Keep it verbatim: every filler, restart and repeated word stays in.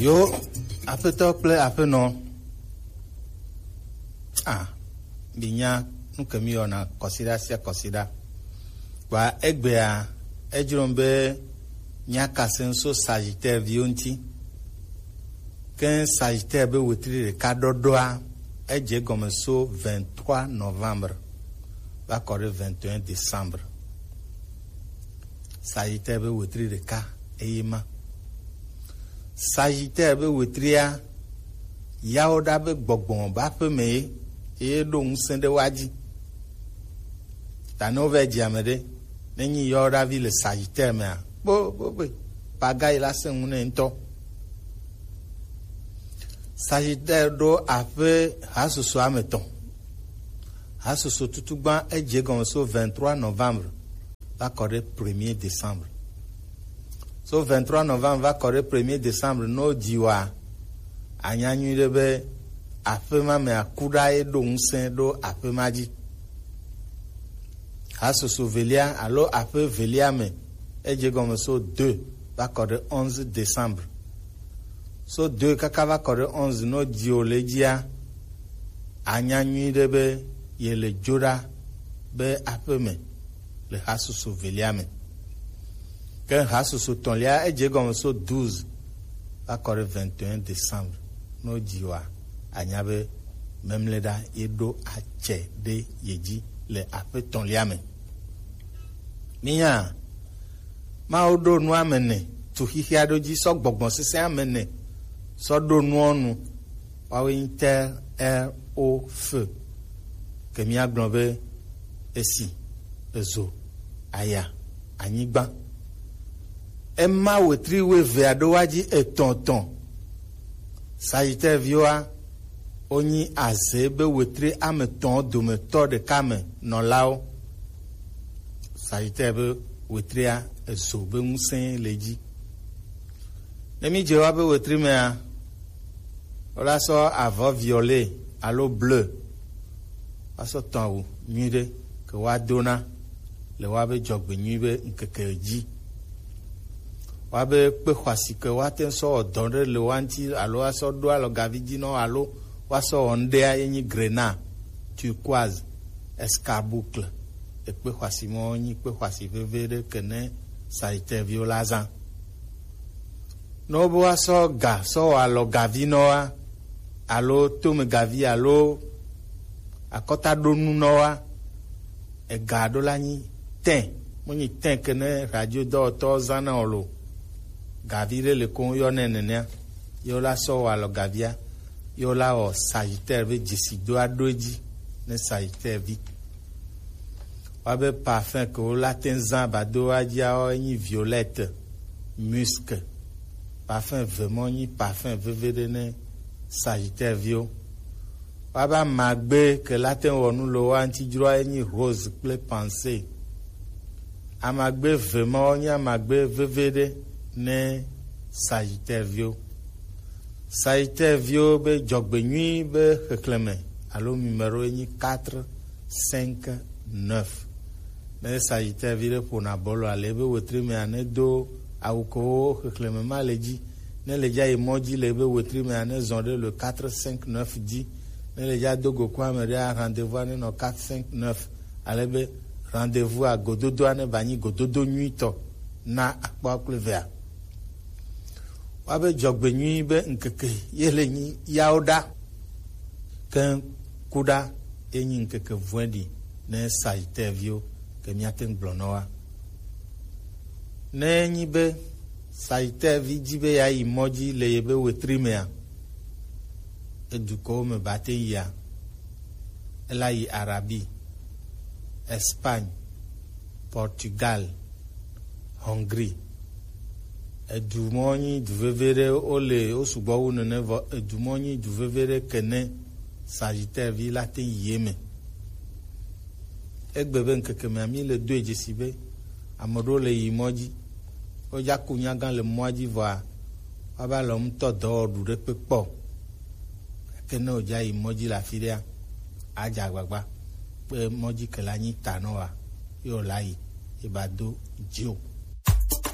Yo, aƒetɔ kple aƒenɔ. Ah, binya nu ke mi yɔna kɔsiɖa sia kɔsiɖa. Kpa egbea, edzrom be míakase ŋu so Sagittaire viwo ŋuti. Ke Sagittaire be wetri ɖeka ɖɔɖɔa, edze egɔme so vingt-trois novembre va kɔ ɖe vingt et un décembre. Sagittaire be wetri ɖeka eye ma. Sagittaire be wetria, yawo ɖa be gbɔgbɔ be aƒe me ye, eye ɖo ŋusẽ ɖe wa dzi. Ta ne wova dzi ame ɖe, ne nyi yawo ɖa vi le Sagittaire mea, kpo kpo kpo, paga yi la sẽ ŋu nɛ ŋutɔ. Sagittaire ɖo aƒe hasoso ame tɔn. Hasoso tutugba edze gɔme so vingt-trois novembre va kɔ ɖe premier décembre. So vingt-trois novembre va kɔ ɖe premier décembre, no dzi wa, anya nyui ɖe be aƒe ma me aku ɖa ye ɖo ŋusẽ ɖo aƒe ma dzi. Hasoso velia alo aƒe velia me, edze gɔme so deux va kɔ ɖe onze décembre. So deux kaka va kɔ ɖe onze, no dzi o le dzia, anya nyui ɖe be ye le dzo ɖa be aƒe me le hasoso velia me. Ke hasoso tɔ̃lia, edze gɔme so douze va kɔ ɖe vingt et un décembre. No dzi wa, anya be memle ɖa ye ɖo atsɛ ɖe ye dzi le aƒe tɔ̃lia me. Minya, Mawu ɖo nu ame ene tu xixia ɖo dzi sɔ gbɔgbɔ sesẽ ame ene sɔ ɖo nuɔ nu. Woawoe nyi terre, air, eau, feu. Ke míagblɔ be esi, ezo, aya, anyigba. Ema wetri wuievea ɖo wa dzi etɔ̃ etɔ̃. Sagittaire viwoa, wonyi azé be wetri ame etɔ̃ dometɔ ɖeka me nɔlawo. Sagittaire be wetria, ezo be ŋusẽ le edzi. Ne mídze woabe wetri mea, wola sɔ avɔ violet alo bleu woasɔ tɔ̃ awu nyui ɖe ke woadona le woabe dzɔgbenyui be ŋkeke dzi. Woabe kpe xɔasi ke woate ŋu sɔ wɔ dɔ ɖe le woa ŋuti alo woasɔ ɖo alɔgavi dzi nɔ alo woasɔ wɔ ŋɖea ye nyi grenat, turquoise, escarboucle. Ekpe xɔasi mɔ nyi kpe xɔasi veve ɖe ke ne Sagittaire viwo la zã. Ne wobe woasɔ ga sɔ wɔ alɔgavi nɔ wa, alo tomegavi alo akɔtaɖonu nɔ wa, ega ɖo la nyi tin, mo nyi tin ke ne radio dɔwɔtɔ zã na o lo. Gavi ɖe le ko yɔ nɛ nenea, ye wola sɔ wɔ alɔgavia, ye wola wɔ Sagittaire be dzesi do aɖo edzi ne Sagittaire vi. Woabe parfum ke wola te ŋu zã ba do wa dzia, wo enyi violette, musc. Parfum ve mɔ nyi parfum veve ɖe ne Sagittaire viwo. Woabe amagbe ke la te ŋu wɔ nu le woa ŋuti dzroa enyi rose kple pensée. Amagbe ve mawo nye amagbe veve ɖe ne Sagittaire viwo. Sagittaire viwo be dzɔgbenyui be xexlẽme alo numéro ye nyi quatre cinq neuf. Ne Sagittaire vi ɖe ƒona bɔlua le ebe wetri mea, ne do awu kewo xexlẽme ma le dzi. Ne le dza yi mɔ dzi le ebe wetri mea, ne zɔ ɖe le quatre cinq neuf dzi. Ne le dza do go ku ame ɖea, rendez-vous ne nɔ quatre cinq neuf. Ale be rendez-vous a gododoa ne ba nyi gododo nyuitɔ na akpɔ kple vea. Woabe dzɔgbenyui be ŋkeke ye le nyi yawo ɖa. Ke ku ɖa ye nyi ŋkeke vɔ̃ɖi ne Sagittaire viwo ke míate ŋu gblɔ nɔ wa. Ne enyi be Sagittaire vi dzi be yeayi mɔ dzi le yebe wetri mea, edukɔwo me ba te yia, ela yi Arabie, Espagne, Portugal, Hongrie. Edu mɔ nyi du veve ɖe, wo le, wo sugbɔ wu nene, vɔ edu mɔ nyi du veve ɖe ke ne Sagittaire vi la te yi eme. Egbe be ŋkeke mea, mi le doe dzesi be ame ɖewo le yi mɔ dzi. Wodza ku nyagã le mɔa dzi vɔa, woava le ŋutɔ dɔ wɔ ɖu ɖe kpe kpɔ o. Gake ne wòdza yi mɔ dzi le afi ɖea, adze agbagba be mɔ dzi ke la nyi ta nɔ wa, ye wòla yi, ye ba do dzi o.